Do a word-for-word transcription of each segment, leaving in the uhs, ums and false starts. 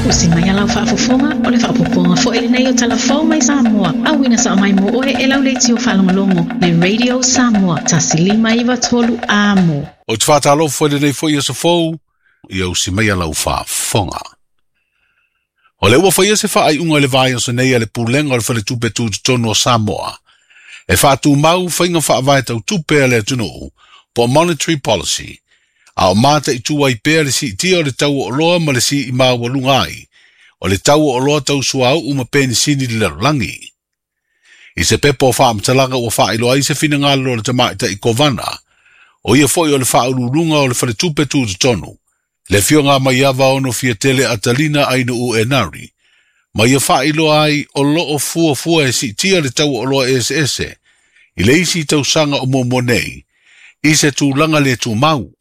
Usi mai alau faafofoga o le faapopoga foi lenei o talafou mai Samoa. Auina sa mai mo oe e lau leitio faalogologo le Radio Samoa tasi lima iva tolu amo. O te whātalofa lenei foi aso fou, ia usi mai alau faafofoga. O le ua whaia se whaaiunga le vai aso nei a le pulenga o le faletupe tutotonu o Samoa. E whaatumau whainga whaavae tau tupe a le atunuu, po monetary policy. A o mata i tua i pea le siitia o le tau o loa ma le si i maua ai, o le tau o loa tau suau uma penisini le lalolagi. I se pepa o whaamatalaga ua whaailoa ai se finagalo o le tamaita i Kovana, o ia foi o le whaaululunga o le faletupe tutotonu, le fioga mai ava ono fiatele atalina ainu u enari, ma ia whaailoa ai o loo fua fua e siitia le tau o loa ese ese, i le isi tausaga o muamua nei, i se tulaga le tumau,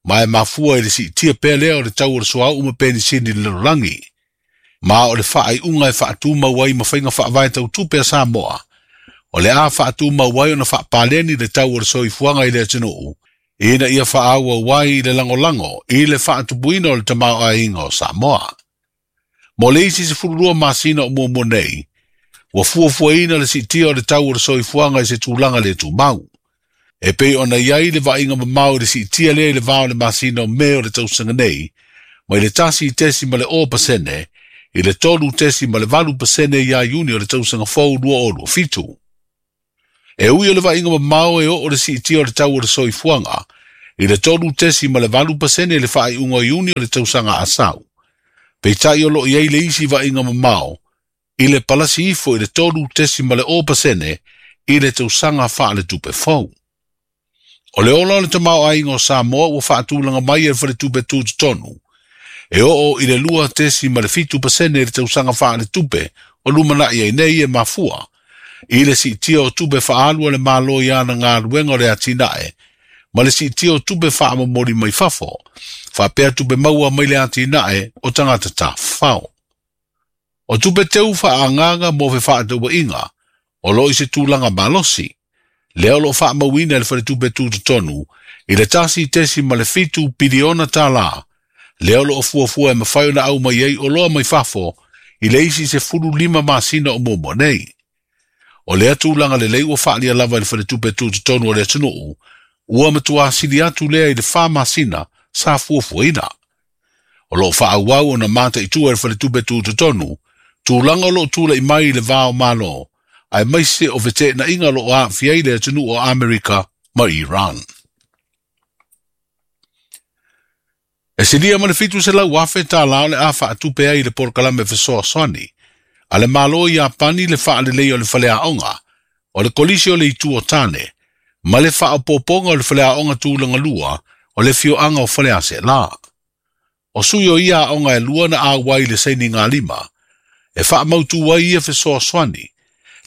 ma e mafua i le siitia pea lea o le tau o le suauu ma penisini le lalolagi. Ma o le faaiuga e faatumau ai ma faiga faavae tau tupe a Samoa, o le a faatumau ai ona faapaleni le tau o le soifuaga i le atunuu, ina ia faaauau ai i le lagolago i le faatupuina o le tamaoaiga o Samoa. Mo le isi sefululua masina o muamua nei, ua fuafuaina le siitia o le tau o le soifuaga i se tulaga le tumau. E pei ona iai le vaaiga mamao i le siitia lea i le vao le masina o Me o le tausaga nei, mai le tasi tesi ma le o pasene, i le tolu tesi ma le valu pasene ia Iuni o le tausaga fou lua o lua fitu. E ui o le vaaiga mamao e oo le siitia o le tau o le soifuaga, i le tolu tesi ma le valu pasene i le faaiuga o Iuni o le tausaga asau. Peitai o loo iai le isi vaaiga mamao, i le palasi ifo i le tolu tesi ma le o pasene, i le tausaga faaletupe fou. O le ola o le tamaoaiga o Samoa ua faatulaga mai e le faletupe tutotonu, e oo i le lua tesi ma le fitu pasene i le tausaga faaletupe o lumanai ai nei e mafua, i le siitia o tupe faaalu a le Malo i ana galuega o le atinae, ma le siitia o tupe faamomoli mai fafo, faapea tupe maua mai le atinae o tagata tafafao. O tupe teu faaagaga mo fefaatauaiga, o loo i se tulaga malosi, lea o loo faamauina e le faletupe tutotonu i le tasi tesi ma le fitu piliona tālā, lea o loo fuafua e mafai ona au mai ai o loa mai fafo i le isi sefulu lima masina o muamua nei. O lea tulaga lelei ua faalia lava i le faletupe tutotonu o le atunuu, ua matuā sili atu lea i le fa masina sa fuafuaina. O loo faaauau ona mataitua e le faletupe tutotonu, tulaga o loo tula'i mai i le va o Malo, aemaise o feteenaiga o loo aafia ai le atunuu o Amerika ma Iran. E silia ma le fitu selau afe tālā o le a faatupe ai le polokalame fesoasoani, a le Malo i Iapani le faalelei o le faleaoga, o le kolisi o le itu o Tane, ma le faaopoopoga o le faleaoga tulaga lua o le fioaga o Faleaseelā. O sui o ia aoga e lua na auai le sainiga lima, e faamautu ai ia fesoasoani,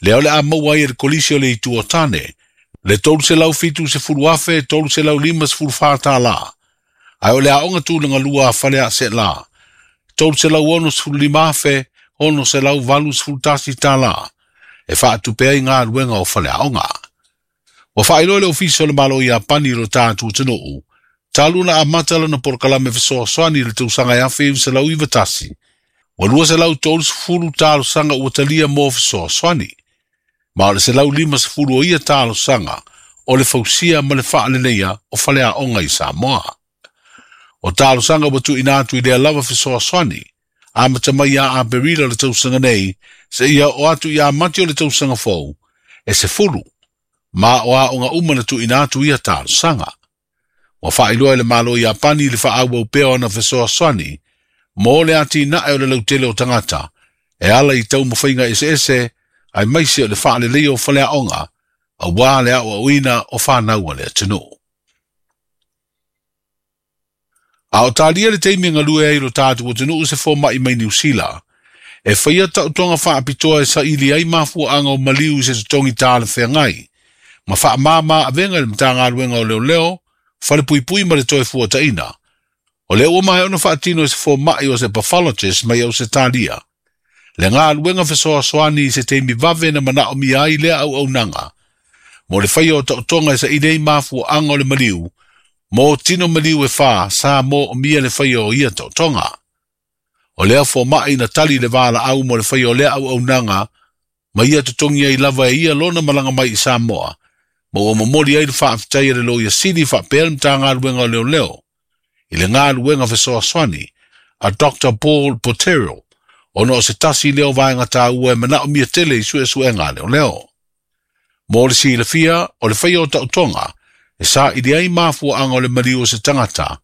lea o le a maua ai e le kolisi o le itu o Tane, le tolu selau fitu sefulu afe tolu selau lima sefulu fa tālā, ae o le aoga tulaga lua a Faleaseelā, tolu selau ono sefulu lima afe ono selau valu sefulu tasi tālā, e faatupe ai galuega o faleaoga. Ua faailoa le ofisa o le Malo o Iapani i lo tatou atunuu, talu na amata lana polokalame fesoasoani i le tausaga e afe iva selau iva tasi, ua lua selau tolu sefulu talosaga ua talia mo fesoasoani, ma o le selau lima sefulu o ia talosaga o le fausia ma le faaleleia o faleaoga i Samoa. O talosaga ua tuuina atu i lea lava fesoasoani, amata mai ia Aperila o le tausaga nei, seia oo atu ia Mati o le tausaga fou, e sefulu, ma o aoga uma na tuuina atu ia talosaga. Ua faailoa e le Malo o Iapani le faaauau pea o ana fesoasoani, mo le atinae o le lautele o tagata, e ala i taumafaiga eseese, aemaise o le faaleleia o faleaoga, auā le aoaoina o fanau a le atunuu. A o talia le taimi e galue ai lo tatou atunuu se foma'i mai Niu Sila, e faia taotoga faapitoa e saili ai mafuaaga o maliu i se totogi talafeagai, ma faamāmā avega i le Matagaluega o Leoleo, Falepuipui ma le Toefuataiga. O lea ua maea ona faatino e se foma'i o se pathologist mai Ausetalia, le galuega fesoasoani i se taimi vave na manaomia ai lea auaunaga, mo le faia o taotoga e saili ai mafuaaga o le maliu, mo tino maliu e fa sa moomia le faia o ia taotoga. O lea fomaʻi na tali le valaau mo le faia o lea auaunaga ma ia totogi ai lava e ia lona malaga mai i Samoa ma ua momoli ai le faafetai a le Loia Sili faapea le Matagaluega o Leoleo i le galuega fesoasoani a Doctor Paul Potero ona o se tasi lea o vaega taua e manaomia tele i suesuega a leoleo. Mo le silafia o le faia o taotoga e saili ai mafuaaga o le maliu o se tagata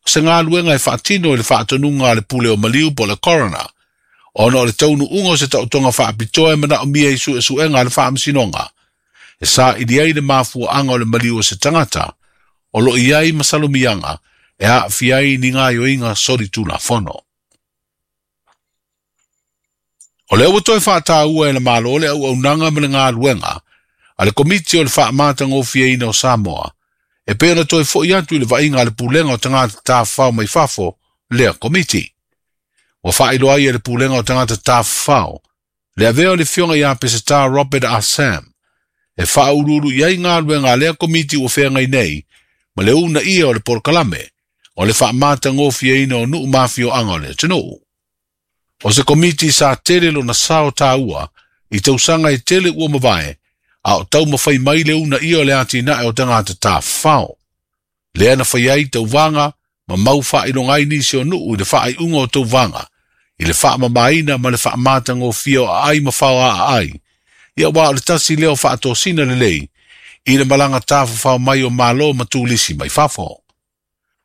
o se galuega e faatino i le faatonuga a le pule o maliu po o le coroner ona o le taunuuga o se taotoga faapitoa e manaomia i suesuega a le faamasinoga e saili ai le mafuaaga o le maliu o se tagata o loo i ai masalomiaga e aafia ai ni gaoioiga solitulafono. O lea ua toe faataua e le Malo le auaunaga ma le galuega a le Komiti o le Faamatagofieina o Samoa e pei ona toe fo'i atu i le vaaiga a le Pulega o Tagata Tafafao mai Fafo lea komiti. Ua faailoa ai e le Pulega o Tagata Tafafao le avea o le Afioga ia Peseta Robert Assam e faauluulu i ai galuega a lea komiti ua feagai nei ma le uunaia o le polokalame o le faamatagofieina o nuu mafioaga o le atunuu. O se komiti sa tele lona sao taua i tausaga e tele ua mavae a o taumafai mai le uunaia o le atinae o tagata tafafao. Lea na fai ai tauvaga ma mau faailoga ai nisi o nuu i le faaiuga o tauvaga i le faamamaina ma le faamatagofie o aai ma faoaaai ia ua o le tasi lea o faatosina lelei i le malaga tafafao mai o Malo ma tulisi mai fafo.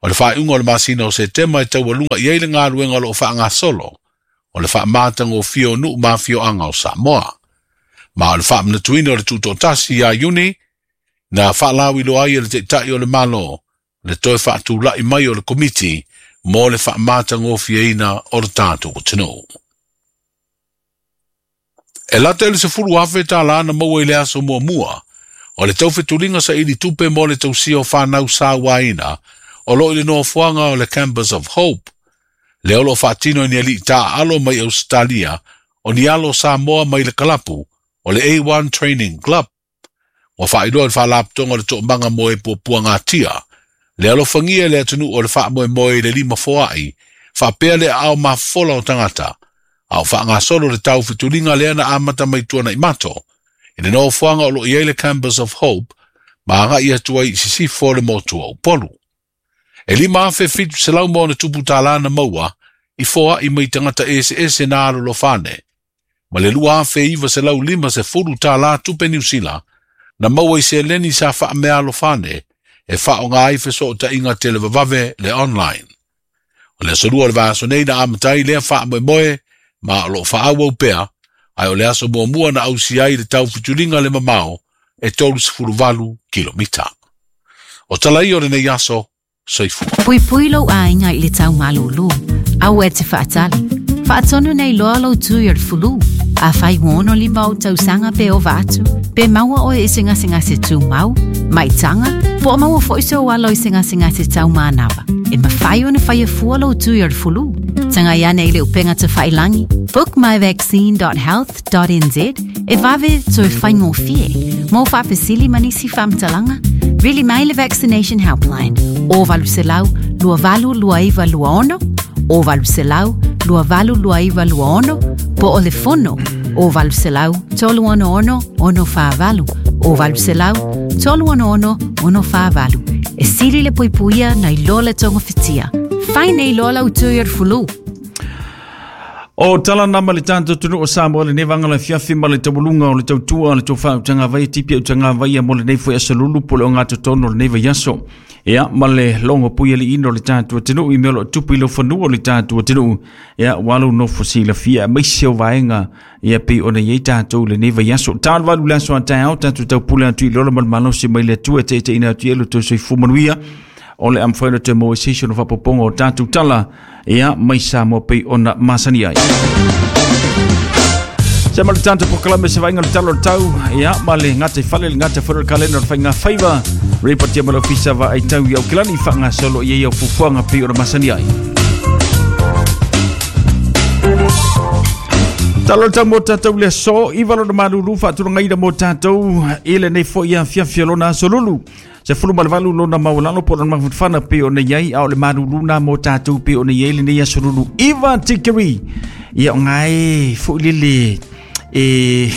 O le faaiuga o le masina o Setema e taualuga i ai le galuega o loo faagasolo o le faamatagofie o nuu mafioaga o Samoa. Ma o le faamanatuina o le tutoatasi ia Iuni na faalauiloa ai e le Taitai o le Malo le toe faatula'i mai o le komiti mo le faamatagofieina o le tatou atunuu. E lata i le sefulu afe tālā na maua i le aso muamua o le taufetuliga saili tupe mo le tausia o fanau sauaina o loo i le nofoaga o le Campus of Hope. Lea o loo faatino e ni alii taaalo mai Ausetalia o ni alo Samoa mai le kalapu o le A one Training Club. Ua faailoa i le faalapotoga o le toomaga mo e puapuagatia le alofagia e le atunuu o le faamoemoe i le lima foai faapea le aao mafofola o tagata a o faagasolo le taufetuliga lea na amata mai tuana'i mato i le nofoaga o loo i ai le Campus of Hope ma aga'i atu ai i sisifo o le motu o Upolu. E lima afe fitu selau ma ona tupu tālā na maua i foa'i mai tagata eseese na alolofane ma le lua afe iva selau lima sefulu tālā tupe Niu Sila na maua i seleni sa faamealofane e faaoga ai fesootaiga televavave le online. O le aso lua o le vaiaso nei na amata ai lea faamoemoe ma o loo faaauau pea ae o le aso muamua na ausi ai le taufetuliga le mamao e tolu valu kilomita. O tala ia o lenei aso, soifua. Puipui lou aiga i le taumalūlū. Aua e te faatali. Faatonu nei loa lou tui o le fulu. Afai ua ono lima ou tausaga pe ova atu, pe maua oe i se gasegase tumau, maitaga, po o maua fo'i sou alo i se gasegase taumanava. E mafai ona faia fua lou tui o le fulu. Tagai ane i le upega tafailagi, book my vaccine dot health dot n z e vave toe faigofie. Mo faafesili ma nisi faamatalaga, vili mai le Vaccination Helpline o valu selau lua valu lua iva lua ono, o valu selau lua valu lua iva lua ono, po o le fono o valu selau tolu ono ono ono faavalu, o valu selau tolu ono ono ono faavalu. E sili le puipuia nai lo le togofitia. Fai nei loa lau tui o le fulu. O tala nama le tātou tunu o Samoa le nevanga le fiafi ma le tawalunga o le tautua o le tauwha utanga vai tipi utanga vai mo le nei foi asalulu po le o ngā totono le nei vai aso. Ea ma le longo pui ali ino le tātou tunu i mea lo tupu i lo whanua le tātou tunu. Ea walu no fosi la fia maise o vaenga ia pe o nei tātou le nei vai aso. Tālu walu le aso a tāo tātou tau pule atu i lola malmalo se mai le atua te te ina atu i elo tau soifu manuia. O le amwhaina te moe seisho no whapoponga o tātou tala ia mai Samoa pei ona masani ai. Se ma le tātou pokalame se vainga le talo le tau ia ma le ngata i whale le ngata whare le kalena o le whainga whaiva repatia ma le ofisa wa ai tau i au kilani whanga solo i ei au fufuanga pei ona masani ai. Talo tau mo tātou le so, i walo na malulu whaaturanga ira mo tātou i le nei fo ia fiafia lona aso lulu. Sefulu ma le valu lona maualalo po o lona mafanafana pei ona i ai a o le malūlū na mo tatou pei ona i ai lenei aso lulu iva tikeri. Ia o gae foʻi lele e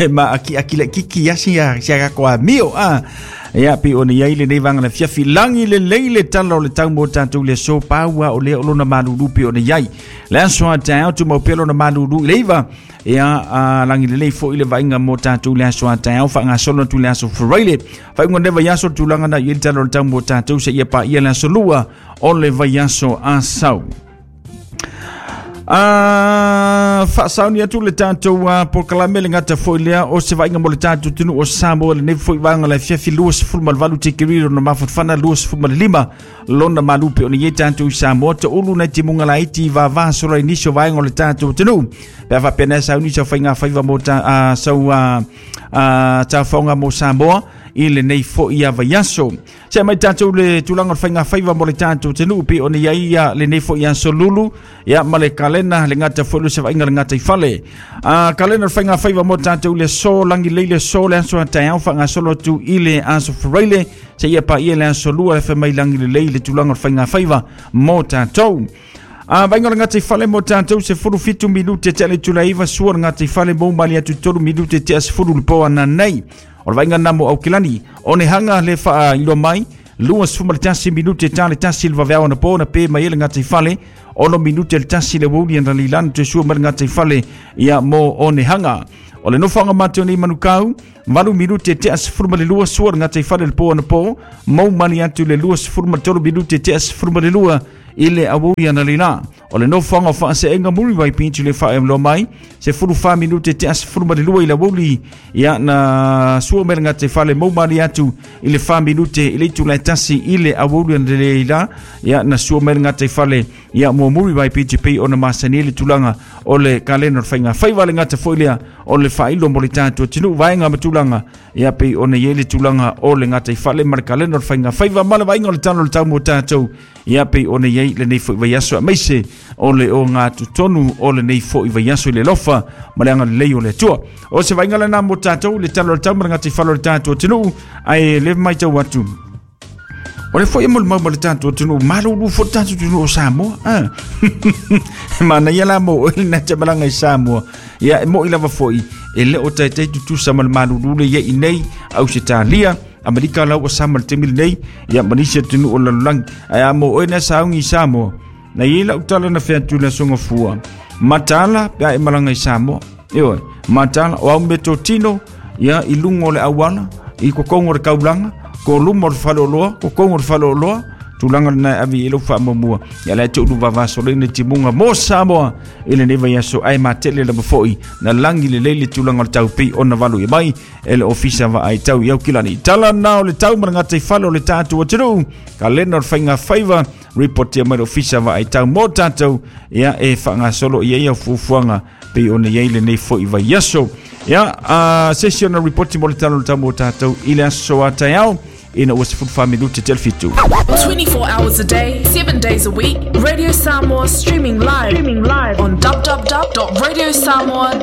ma aki aki le kiki ia sia sia ka ko amio a ia pe ona iai lenei vaega le afiafi lagi lelei le tala o le tau mo tatou le aso paua o lea o lona malūlū pe ona iai le aso a taeao tumau pea lona malūlū i le iva ia a lagi lelei foʻi le vaaiga mo tatou le aso a taeao faagasolo atu le aso Faraile faaiuga o lenei vaiaso le tulaga na i ai le tala o le tau mo tatou seia paia le aso lua o le vaiaso asau. A faasauni atu le tatou uh, polokalame le gata foʻi lea o se vaaiga mo le tatou atunuu o Samoa lenei foʻi vaega le afiafi lua sefulu ma le valu tikeri lona mafanafana lua sefulu ma le lima lona malu pe ona i ai tatou i Samoa taulu nai timuga laiti vavā sola i nisi o vaega o le tatou atunuu pe a faapena e sauni sau faigafaiva mo ta, uh, sau uh, uh, tafaoga mo Samoa i lenei foʻi vaiaso. Se mai tatou le tulaga o le faigafaiva mo le tatou atunuu pe ona i ai ia lenei foʻi aso lulu ia ma le kalena le gata foʻi le sevaiga le gata i fale. A kalena o le faigafaiva mo tatou le aso lagi lelei le aso le aso a taeao faagasolo atu i le aso Faraile seia paia le aso lua le femai lagi lelei le tulaga o le faigafaiva mo tatou. A vaaiga o le gata i fale mo tatou sefulu fitu minute tea le itula iva sua le gata i fale mo mali atu tolu minute tea sefulu le po ananei. O le vaaiga na mo Aukilani o ne hanga le faailoa mai lua sefulu ma le tasi minute ta le tasi le vaveao anapo na pe mai ai le gata i fale ono minute le tasi le uauli analilani toe sua mai le gata i fale ia mo one hanga. O le nofoaga mateo nei manukau valu minute tea sefulu ma le lua sua le gata i fale le po anapo mau mali atu le lua sefulu ma le tolu minute tea sefulu ma le lua i le aoauli analila. O le nofoaga o faaseega Muriwai Beach le faailoa mai sefulu fa minute tea sefulu ma le lua i le aoauli ia na sua mai le gata i fale mau mali atu i le fa minute i le itula e tasi i le aoauli analila ia na sua mai le gata i fale ia mo Muriwai Beach pei ona masani ai le tulaga o le kalena o le faigafaiva le gata foʻi lea o le faailo mo le tatou atunuu vaega ma tulaga ia pei ona i ai le tulaga o le gata i fale ma le kalena o le faigafaiva ma le vaaiga o le tala o le tau mo tatou ia pei ona i ai lenei foʻi vaiaso aemaise o le ogatotonu o lenei foʻi vaiaso i le alofa ma le agalelei o le Atua. O se vaaiga lena mo tatou le tala o le tau ma le gata i fale o le tatou atunuu ae le matau atu o le foʻi e molimau ma le tatou atunuu malūlū foʻi le tatou atunuu o Samoa. Ah. Manaia la mo oe lena te malaga i Samoa ia e moʻi lava foʻi e le o taitai tutusa ma le malūlū le ia i nei Ausetalia Amerika lau ua sama le taimi lenei ia ma nisi atunuu o le lalolagi ae a mo oe na saugi i Samoa na iai lau tala na fea atu le asoga fua mataala pe a e malaga i Samoa ioe mataala o au metotino ia i luga o le auala i kokoga o le kaulaga ko luma o le faleoloa kokoga o le faleoloa tulaga lena e ave i ai lau faamuamua ia lae te ulu vavasoleina timuga mo Samoa i lenei vaiaso ae matele lava foʻi na lagi lelei le tulaga o le tau pei ona valu ia mai e le ofisa vaai tau i Aukilani. Tala na o le tau ma le gata i fale o le tatou atunuu kalena o le faigafaiva ripotia mai le ofisa vaai tau mo tatou ia e faagasolo i ai au fuafuaga pei ona i ai lenei foʻi vaiaso. Ia a sesi ona ripoti mo le tala o le tau mo tatou i le aso a taeao ina ua sefulu fa minute tea le fitu. twenty-four hours a day, seven days a week. Radio Samoa streaming live, streaming live on w w w dot radio samoa dot